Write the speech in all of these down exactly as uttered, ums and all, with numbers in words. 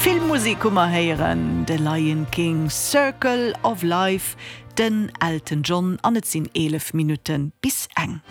Filmmusek hu mer héieren, The Lion King, Circle of Life, den Elton John an et sinn eelef Minutte bis eng.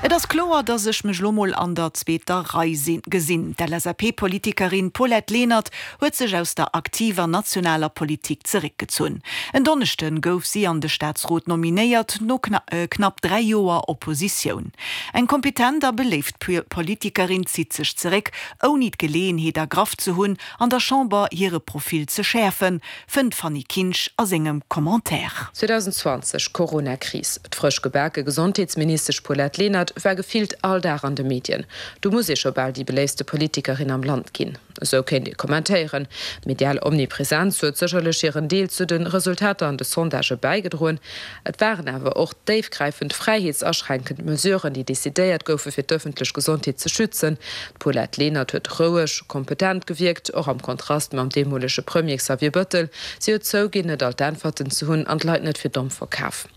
Et ass kloer, datt ech mech lo mol an der zweeter Rei gesinn. D'LSAP-Politikerin Paulette Lenert huet sech aus der aktiver nationaler Politik zeréckgezunn. En Donneschde gouf si an de Staatsrot nominéiert, no knapp dräi Joer Oppositioun. Eng kompetent a beléift Politikerin zitt sech zeréck, ouni d'Geleeënheet ergraff ze hunn, an der Chamber hire Profil ze schäerfen, fënnt d'Fanny Kinsch a sengem Commentaire. zweedausendzwanzeg, Corona-Kris, D'frësch gebake Gesondheetsministesch Paulette Lenert war gefillt all Dag an de Medien. Do muss ee scho bal déi beléiftste Politikerin am Land ginn. Esou kéint ee kommentéieren. D'medial Omnipresenz huet sécherlech hiren Deel zu de Resultater an de Sondagë bäigedroen. Et waren awer och déifgräifend fräiheetsaschränkend Mesuren, déi decidéiert goufe fir d'ëffentlech Gesondheet ze schützen. D'Paulette Lenert huet roueg, kompetent gewierkt, och am Kontrast mam deemolege Premier Xavier Bëttel. Si huet zouginn, net all d'Äntwerten ze hunn an d'Leit net fir domm verkaf.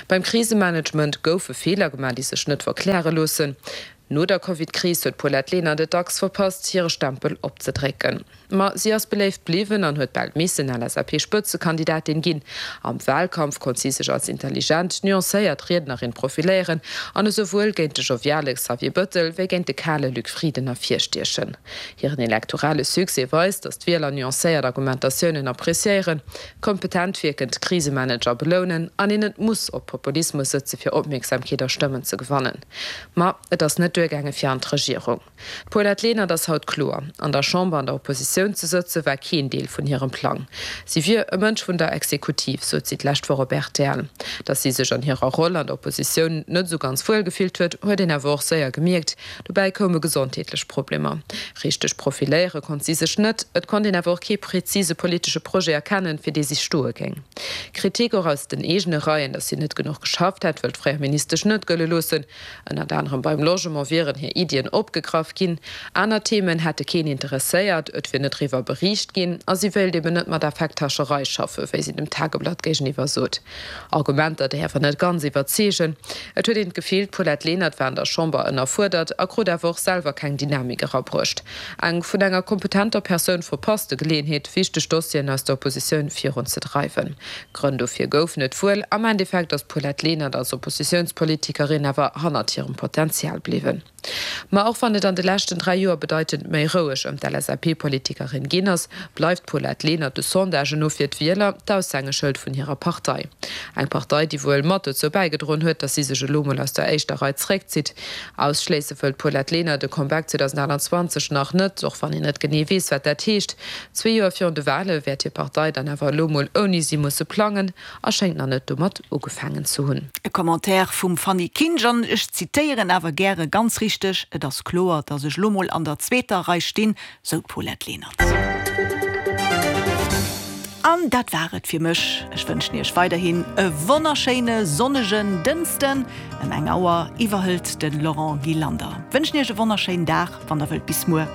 Beim Krisemanagement goufe Feeler gemaach, déi sech net verkläre loossen. No der Covid-Kris huet d'Paulette Lenert et dacks verpasst, hire Stempel opzedrécken. Ma si ass beléift bliwwen an huet bal missen L S A P-Spëtzekandidatin ginn. Am Walkampf konnt si sech als intelligent, nuancéiert Riednerin profiléieren an esouwuel géint de joviale Xavier Bëttel wéi géint de kale Luc Frieden ervirstiechen. Hiren elektorale Succès weist, datt d'Wieler nuancéiert Argumentatiounen appreciéieren, kompetent wierkend Krisemanager belounen an een net muss op Populismus sëtze fir Opmierksamkeet a Stëmmen ze gewannen. Ma et ass net duergaange fir an d'Regierung. D'Paulette Lenert ass haut kloer, An der Chamber an der Oppositioun ze sëtze war keen Deel vun hirem Plang. Si wier e Mënsch vun der Exekutiv, sot si d'lescht Woch op R T L. Datt si sech an hirer Roll an der Oppositioun net esou ganz wuel gefillt huet, huet een awer och séier gemierkt. Dobäi koume gesondheetlech Problemer. Richteg profiléiere konnt si sech net, et konnt een awer och kee prezise politesche Projet erkennen, fir dee si stoe géing. Kritik och aus den eegene Reien, datt si net genuch geschafft hätt, wëll d'fréier Ministesch net gëlle loossen. Ënnert anerem beim Logement wieren hir Iddien opgegraff ginn, aner Themen hätte keen interesséiert, et wier net driwwer beriicht ginn a si wéilt eben net mat Affekthascherei schaffen, wéi si dem Tageblatt géigeniwwer sot. Argumenter, déi awer net ganz iwwerzeegen. Et huet een d'Gefill, d'Paulette Lenert war an der Chamber ënnerfuerdert a krut awer och selwer keng Dynamik erabruecht. Eng vun enger kompetenter Persoun verpasste Geleeënheet, wichteg Dossieren aus der Oppositioun virunzedreiwen. Grënn dofir goufen et wuel, am Endeffekt ass d'Paulette Lenert als Oppositiounspolitikerin awer hannert hirem Potenzial bliwwen. Ma och wann et an de leschten dräi Joer bedeitend méi roueg ëm d'L S A P-Politikerin ginn ass, bleift d'Paulette Lenert de Sondagen no fir d'Wieler d'Aushängeschëld vun hirer Partei. Eng Partei, déi wuel mat dozou bäigedroen huet, datt si sech elo mol aus der éischter Rei zeréckzitt. Ausschléisse wëll d'Paulette Lenert de Comeback zweedausendaachtanzwanzeg nach net, och wann een net genee weess, wat dat heescht. Zwee Joer virun de Wale wäert hir Partei dann awer elo mol ouni si musse plangen a schéngt nach net domat ugefaangen ze hunn. E Commentaire vum Fanny Kinsch an ech zitéieren awer gäre ganz richteg, Et ass kloer, datt ech lo mol an der zweeter Rei stinn, sou d'Paulette Lenert. An dat war et fir mech. Ech wënschen Iech weiderhin e wonnerschéine sonnegen Dënschden. Ëm eng Auer iwwerhëlt de Laurent Gillander. Wënschen Iech e wonnerschéinen Dag, wann der wëllt bis muer.